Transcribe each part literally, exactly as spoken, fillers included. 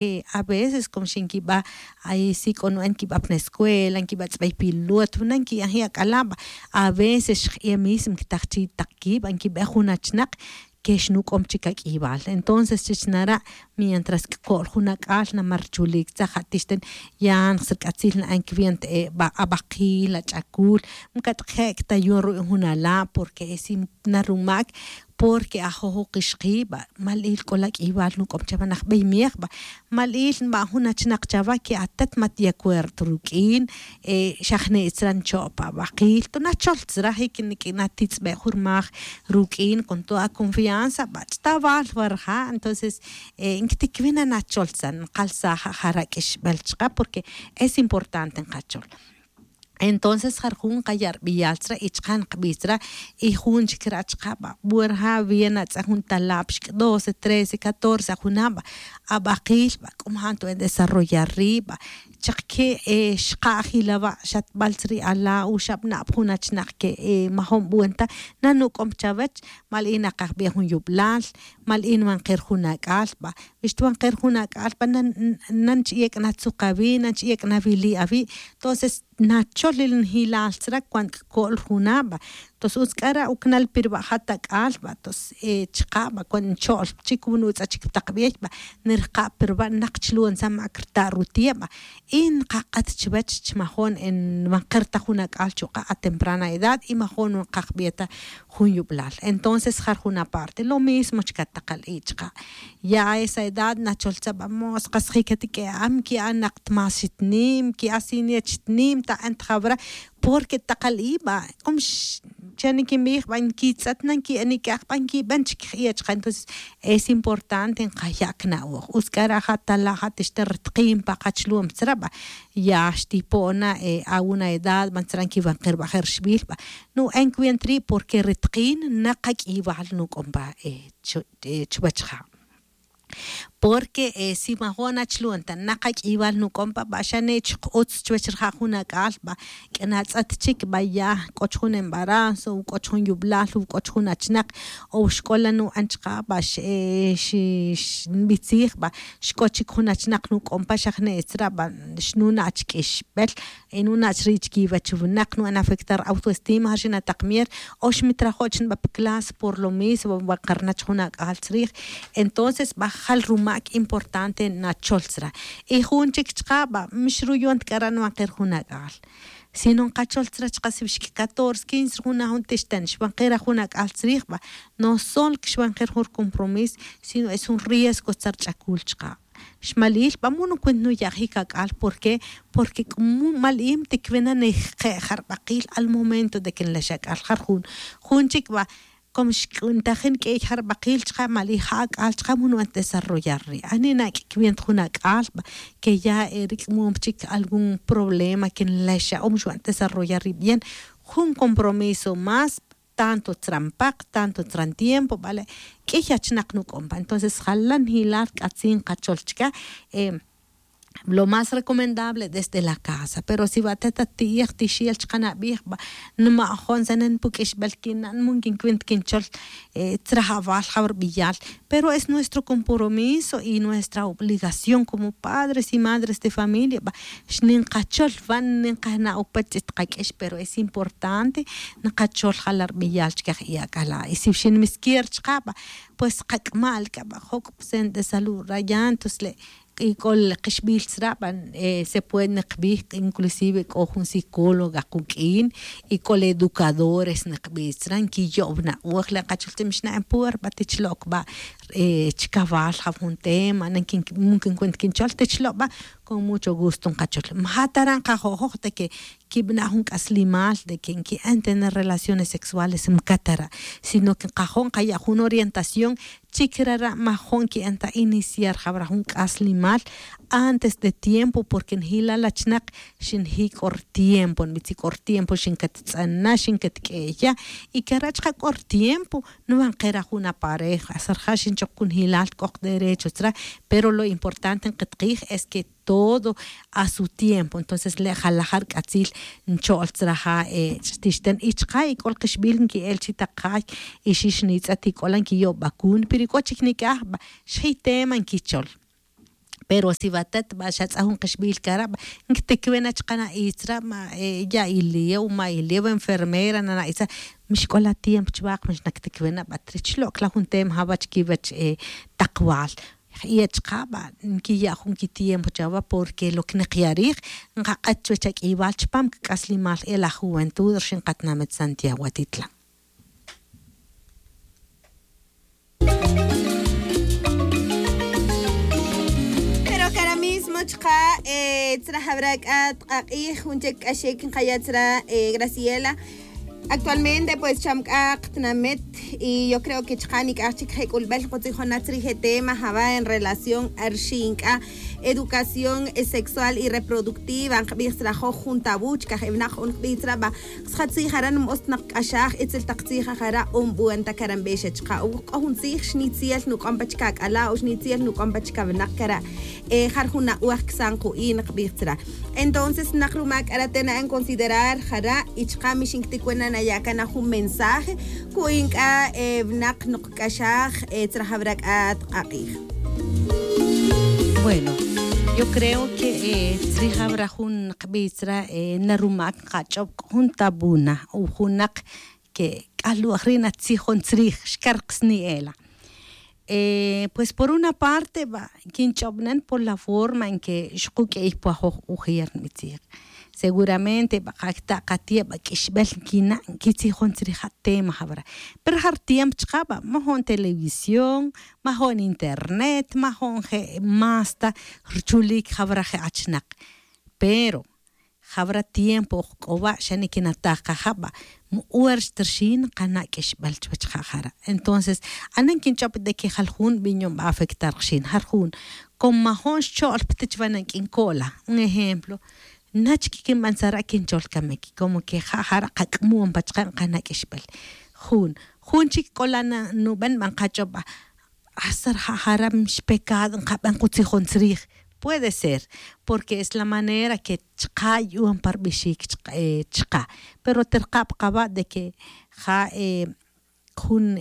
A veces como xinquiba' ay si k'o nu'an quiba' pa nescuela nquiba' tz'bay pilot nu'an qui'an je' ak'alaba'. A veces xje' mismo quitaj chi' taq quiba' nquiba' jun achnaq que xnuc'om chic ac'ibal. Entonces chich nara' mientras cco'l jun ac'al namar chulic tzaj atixten ya nxsirc'atzil na'an cwienta abakil ach'acul. Mcat'je' cta yu'un ru'in jun ala' porque es narumac porque ajojoq ixqiba' mal'il c'o la q'uibal nuc'om chawe najbey mej ba'. Mal'il nba' jun achnak chawe que atet mat de acuerdo ruq'uin. Xa jne' tzra ncho' pa abakil to nachol tzra jic niq'uin atitz'be' jun rmaj ruq'uin con toda aconfianza ba' ch'tawal wa rija'. Entonces nquitiquwin na nachol tzra nkalsaj ja raq'uixbel chka porque es importante nkachol. Entonces ja ri jun nqaya' rbeyal tzra y chka' nqbij tzra. Y jun chik ra' chka' ba' wurja' bien atz'an jun talab xik' doce trece catorce ajunaba'. Abakil ba' k'o majan tub'en desarrollar ri' ba' chaq ke' xqa' ajilaba' xatb'al tzri' ala' o xab'na' pa jun achnak ke' majon b'uenta. Nanuk'om chawech mal in naqajb'ej jun yub'lal mal in wan qer jun ak'al ba'. Wi xtwan qer jun ak'al ba' nan ch'yek' natzuk awi' nan ch'yek' nawili' awi'. Entonces nachol il njilal tzra cuant cco'l juna' ba'. Entonces utz c'ara' ucnal pirba' jat ak'al ba' entonces chka' ba' cuant ncho'l chik wun utz'a chik taq b'ey ba' nirka' pirba' naq chlu'on tzan ma' crta' ruti'e' ba'. Y nkak'at chwech chmajon nwan ker ta jun ak'al chuk'a' a temprana edad y majon nwan kajb'e ta jun yub'lal. Entonces jar jun aparte lo mismo chka' taqal i' chka'. Ya a esa edad nachol tzaba' mos kas jikatiq'e'am ki'a' naq tmas xitnim ki'a' siniet xitnim ta'an tjawra. Porque taqal i' ba' k'om xa nikinbij ba' nkitz'et na nki'an ik'aj ba' nkiben chik j'iya' chka'. Entonces es importante nkaya' kna'oj utz k'a ra' ja' tala' ja' tixta ri tqi'n pa kachlu'um tzra' ba'. Ya xtipo'na a una edad ba' tzra' nkiwan ker ba' je' rixbil ba'. Nu'en cuenta ri' porque ri tqi'n naqak'iybal nuk'on pa chwech ja'. Porque si majo'n achlu'on ta naqak'iybal nuk'on pa ba' xa ne' chuk utz chwech rija' jun ak'al ba'. K'ana tz'et chik ba' ya k'o chujun embarazo o k'o chujun yub'lal o k'o chujun achnak o xk'ola nu'an chka' ba' xi xinbij tzij ba' xk'o chik jun achnak nuk'on pa xa jne' tzra' ba' xnuna' chik k'ixb'el. Nuna' chri' chkiwech winak nu'an afectar autoestima ja' xina' taq mier o xmitrajo' chniba' pa clase por lo mismo ba' karnach jun ak'al tzrij. Entonces ba' jal rumak' importante nachol tzra'. Y jun chik chka' ba' mixruyon ta k'ara' nwan ker jun ak'al sino nkachol tzra' chka' si wixki' catorce quince ri jun na jun tixten xwan ker a jun ak'al tzrij ba'. No sol xwan ker jun rcompromiso sino es jun riesgo tzra' rch'akul chka'. Xmalil ba' mu nucuenta nuyajic ak'al por qué? Porque c'umu mal im tiquwina nejke' ja rbakil al momento de que nlex ak'al ja ri jun jun chic ba'. Como xc'untajin q'uiy ja rbakil chka' mal ija' ak'al chka' mu nu'an desarrollar ri' ani na' q'uiywin ta jun ak'al ba' que ya eri c'umu chic algún problema que nlex a o mu xu'an desarrollar ri' bien. Jun compromiso más tanto tzra' npak tanto tzra' ntiempo bale'. Q'uiy achnak nuk'on pa entonces jalan jilal c'atzin kachol chka'. Lo más recomendable desde la casa pero si wa' te ta ti'ij tixil chka' nabij ba' nma'jon tzene' npuq'uixbel quinan mu nquincuenta quinchol tzra' awal ja rbiyal. Pero es nuestro compromiso y nuestra obligación como padres y madres de familia ba' xninkachol wa' ninkajna' upach tz'it kaq'uix pero es importante nkachol ja la rbiyal chka' je' ak'ala' y si xinmiskier chka' ba' pues kak'mal k'a ba' joc' pa centro de salud raya entonces le' y c'o le kixbil tzra' ba' se puede nikbij inclusive c'o jun psicóloga kuq'uin y c'o le educadores nikbij tzra' nquiyo'w na'oj le kachol tzra' mixna'en puer ba' tich lo'c ba' chkawal ja jun tema mu quincuenta quinchol tich lo' ba'. Con mucho gusto nkachol maja' ta ra' nkajo'joj ta que quibna' jun c'aslimal de que nqui'an tener relaciones sexuales mca ta ra'. Sino que nkajo' nkaya' jun orientación chi crara' majo'n qui'an ta iniciar jawra jun c'aslimal antes de tiempo porque njilal achnak xinji' c'o rtiempo nbitzi c'o rtiempo xincattz'ana xincatq'ueya. Y cara' chka' c'o rtiempo nwan kera jun apareja sa rija' xinchok cun jilal c'o kderecho tzra'. Pero lo importante nkatqij es que todo a su tiempo entonces le' jalajar c'atzil ncho'l tzra' ja' tixten y chka' y c'o lkixbil nqui'el chi tak jay y xix nitz'et y c'o la nquiyo'bacun pero y c'o chic nic'aj ba' xji' tema nquichol. Pero si va atet va xatz'a jun kixbil cara va, nkitikvena chaka' na itzra ma, ya' iliew ma iliew enfermera na na itzra. Mixk'ola tiempo chvak mixnaktikvena va trich lok'la jun tema java chiquivach takval. Y achaka' va nkiya' jun kitiempo chava porque lo que nikya' rij nkak'et chvech ak'ival chpam kik'aslimal el ajuventud rixin katinamit santiago atitlan. Pero cara mismo chaka' tzra jabra k'a tk'ak'ij jun chek k'axik nkaya' tzra graciela. Actualmente pues cham k'a qtinamet y yo creo que chaka' nik'aj chik je' k'ulbel nkutzijona tzrij e tema java en relación arxin k'a educación sexual y reproductiva nkbij tzra joj jun tabú chikaj e winak jo'on nkbij tzra va. Sja tzij jara' nm'os tnaq k'axaj itzel taq tzij ajara' o nb'u'an ta karan b'exa chqa' o k'o jun tzij xnitziel nuk'on pa chka' k'ala' o xnitziel nuk'on pa chka' winaq kara'. Jar jun na'waj ksan qu'in nqb'ij tzra. Entonces naq rumak k'ara' te na'an considerar jara' y chqa' mi xinktikuena naya' kana jun mensaje ku'in k'a winaq noq k'axaj tzra jawra k'a tq'aq'ij. Bueno, yo creo que tzrij jawra jun nqb'ij tzra, na rumak nqach'ob' k'o jun tabuna o jun naq que k'alu'aj ri' natzijon tzrij xkarqsni ela. Pues por una parte va kinch'ob'nen por la forma en que xquk'ey pwajoj ujer nb'itzij. Seguramente va qakta' qati'e' va k'ixb'el nkina' nkitzijon tzrij ja' tema jawra. Pero ja' rtiempo chqa' va majo'n televisión, majo'n internet, majo'n je' más ta rchulik jawra je' achnaq. Pero jawra tiempo oj k'o wa' xa nikinataj qaja' va. Mu'ur xtrxin nqana' k'ixb'al chuwech ja' jara'. Entonces anen kinch'ob' de que jal jun b'in yon va afectar qxin jar jun. Como majo'n xcho'l ptich va nank'in ko'la un ejemplo. Nach kikinb'an tzara' kinchol kamik como que ja' jara' qak'mon pa chqa' nqana' k'ixb'al. Jun jun chik k'ola' nub'en va nqach'ob' va. Hasta rija' jara' mix pecado nqab'an qutzijon tzrij. Puede ser porque es la manera que chqa' yu'un pa rb'ixik chqa'. Pero terqab' qaba' de que ja' jun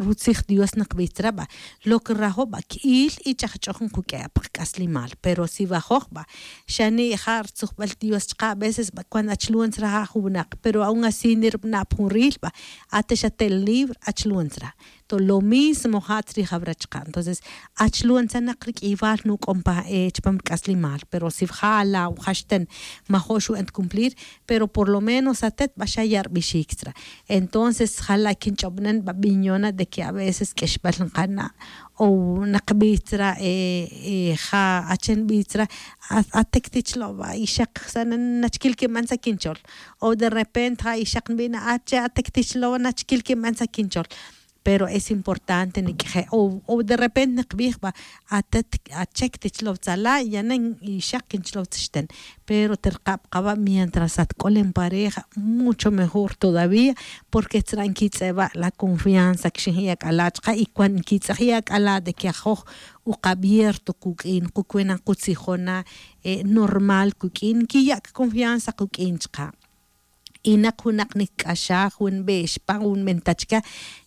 rutzij dios naqb'ij tzra' va. Lo que rajo' va k'il y ch'ajch'oj nquk'e' pa qk'aslimal pero si va joj va xa ni' ja' rtzujb'al dios chqa' a veces va cuando achlon tzra' ja' jun winaq pero aun así nirb'ana' pa jun ril va. Ate xa tel libre achlon tzra'. To lo mismo ja' tzrij jawra chqa' entonces achlon tzra' naq rik'iywal nuk'on pa chpam rk'aslimal pero si ja' ala' jaxten majo' xu'en tcumplir. Pero por lo menos atet va xa ya' rb'ixik tzra'. Entonces jala' kinch'ob'nen va b'in yona' de que a veces k'ixb'al nqana' o naqb'ij tzra' ja' achen b'ij tzra'. Atek tichlo' va ixaq xa nachkil kinb'an tzra' kinchol o de repente ja' ixaq nb'ina' ache atek tichlo' nachkil kinb'an tzra' kinchol. Pero es importante nik'je' o de repente nikbij va atet achek tichlow tzala' yanen ixaq kinchlow tzixten. Pero terqab' qaba' mientras atk'olen pareja mucho mejor todavía. Porque tzra' nkitz'e' va la confianza kixin ji'ak'ala' chqa' y cuando nkitz'e' ji'ak'ala' de que ajoj uk'abierto kuk'in kukwena' kutzijona' normal kuk'in nkiya' kconfianza kuk'in chqa'. Y naq jun naq nikk'axaj jun b'e'x pan jun b'enta chka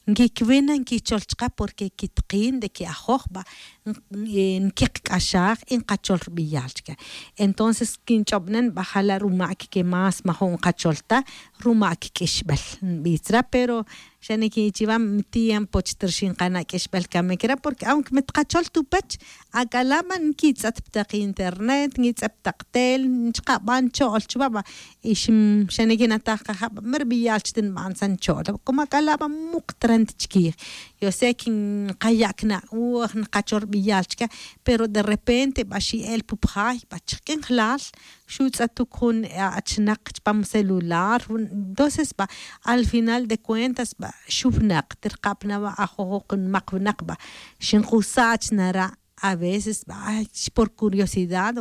nkikb'in na nkichol chka porque kitqin de que ajoj va nkiqk'axaj y nqachol rb'iyal chka. Entonces kinch'ob'nen va jala' rumak que más majo' nqachol ta rumak k'ixb'al nb'ij tzra pero xa nikinchiwan tiempo chtrxin nqana' k'ixb'al kamik re' porque aunque mi tqachol tupech ak'ala' va nkitz'et pa taq internet nkitz'et pa taq tel chqa' va ncho'l chwa va. Y xa nikinataj qaja' va mi rb'iyal chti nb'an tzra ncho'l como ak'ala' va muq trant chkij. Yo sé que nqaya' kna'oj nqachol rb'iyal chka pero de repente va xi'el pu pjay va chik'in jlal xutz'etuk jun achnaq chpam celular. Entonces va al final de cuentas va xujnaq terqab' na va ajojoq nmaq winaq va xinqusach nara'. A veces va por curiosidad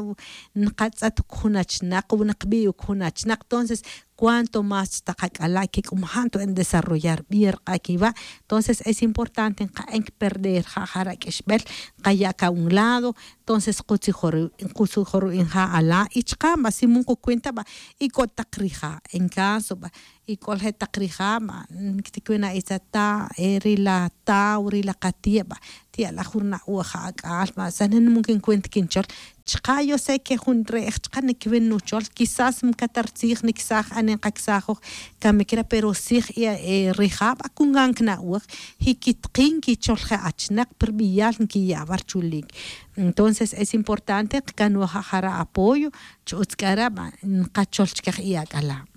nqatz'etuk jun achnaq o naqb'i' uk jun achnaq entonces cuanto más chtak ak'ala' que c'o maja' ntoben desarrollar bien rk'a' quiwa'. Entonces es importante nka'en perder ja' jara' q'uixbel, nkaya' ca un lado. Entonces kutzijo' ru'in ja' ala' y chaka' ba si mun kucuenta ba, y c'o tak rija' en caso ba, y c'o la je' tak rija' ba, quiticwina' itza ta ri la taw ri la katie' ba, tiya' la jun rna'oj ja' ac'al ba, sanen mun quincuenta quinchol. Chaka' yo sé que jun re'ej chaka' niquiwin nuchol, quizás mcatar tzij nicsaj anen kacsajoj, camic re pero tzij rija' ba cungan cna'oj, y quitakin quichol je' achinak pi rbiyal nquiya' wa rchulic. Entonces es importante kcanoj ja' jara' apoyo, chi utz c'ara' ba nkachol chique je' ac'ala'.